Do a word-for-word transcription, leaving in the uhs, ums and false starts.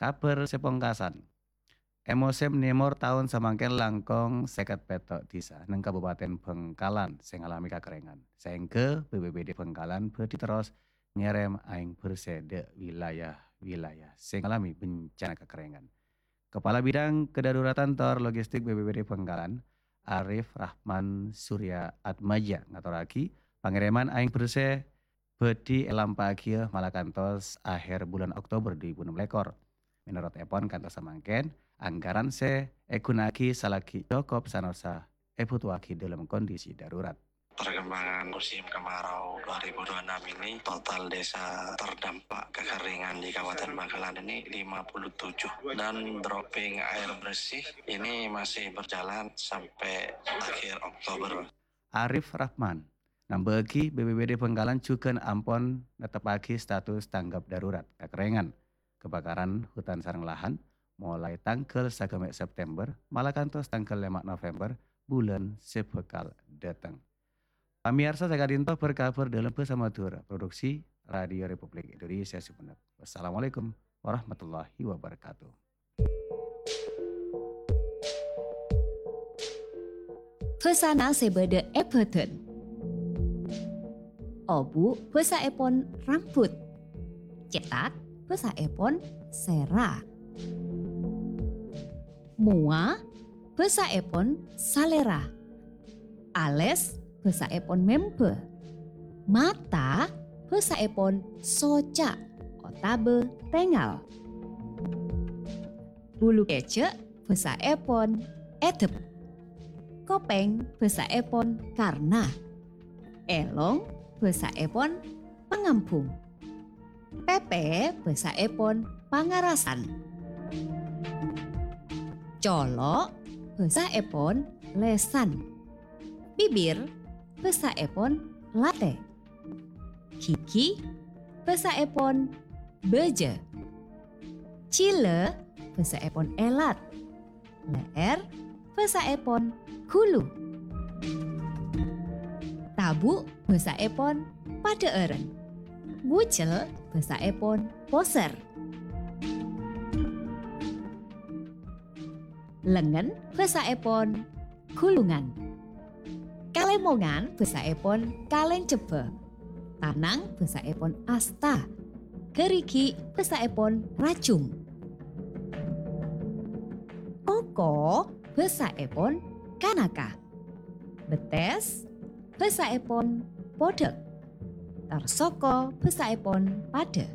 Kabhâr sè pongkasan. È mosèm nèmor taon samangkèn langkong sèket pètto' dhisa neng Kabupaten Bhângkalan sè ngalamè kakerrèngan, saèngghâ B P B D Bhângkalan bhâdhi terros ngèrèm aèng bhersè dâ' wilayah-wilayah sè ngalamè bencana kakerrèngan. Kepala Bidang Kedaruratan tor Logistik B P B D Bhângkalan, Arif Rahman Surya Atmaja ngatorraghi, pangèrèman aèng bhersè bhâdhi èlampa'aghiyâ mala kantos akhèr bulân Oktober dhu èbu ennem lèkor. Mènorot èpon kantos samangkèn, anggaran sè èghuna'aghi salaghi cokop sanaossa èbhutoaghi dâlem kondisi darurat. Perkembangan musim kemarau dua ribu dua puluh enam ini, total desa terdampak kekeringan di Kabupaten Bangkalan ini lima puluh tujuh, dan dropping air bersih ini masih berjalan sampai akhir Oktober. Arif Rahman nambâ'aghi, B P B D Bhângkalan jhughân ampon netteppaghi status tanggap darurat kakerrèngan kebakaran hutan sareng lahan, molaè tangghâl sagâmè' September mala kantos tangghâl lèma' November bulân sè bhâkal dâteng. Pamèyarsa, saka'dinto bâr-kabhâr dâlem bhâsa Madhurâ, produksi Radio Republik Indonesia Sumenep. Wassalamualaikum warahmatullahi wabarakatuh. Bhâsana sè bâdâ è bhâdhân. Obu' bhâsaèpon rambut. Cètak bhâsaèpon sèra. Mowa bhâsaèpon salèra. Alès bhâsaèpon membhâ. Mata bhâsaèpon soca' otabâ tèngal. Bulu kèjhâ' bhâsaèpon èdep. Kopèng bhâsaèpon karna. Èlong bhâsaèpon pangambhung. Pèpè bhâsaèpon pangarasan. Colo' bhâsaèpon lèsan. Bibir bhâsaèpon latè. Ghighi bhâsaèpon bâjâ. Jhilâ bhâsaèpon èlat. Lè'èr bhâsaèpon ghulu. Tabu' bhâsaèpon padhâ'ârân. Bujel bhâsaèpon posèr. Lengngen bhâsaèpon ghulungan. Kalèmongan bhâsaèpon kalèncebbhâ. Tanang bhâsaèpon asta. Ghârighi' bhâsaèpon rajung. Koko bhâsaèpon kanaka. Bettès bhâsaèpon podhâk. Tor soko bhâsaèpon padhâ.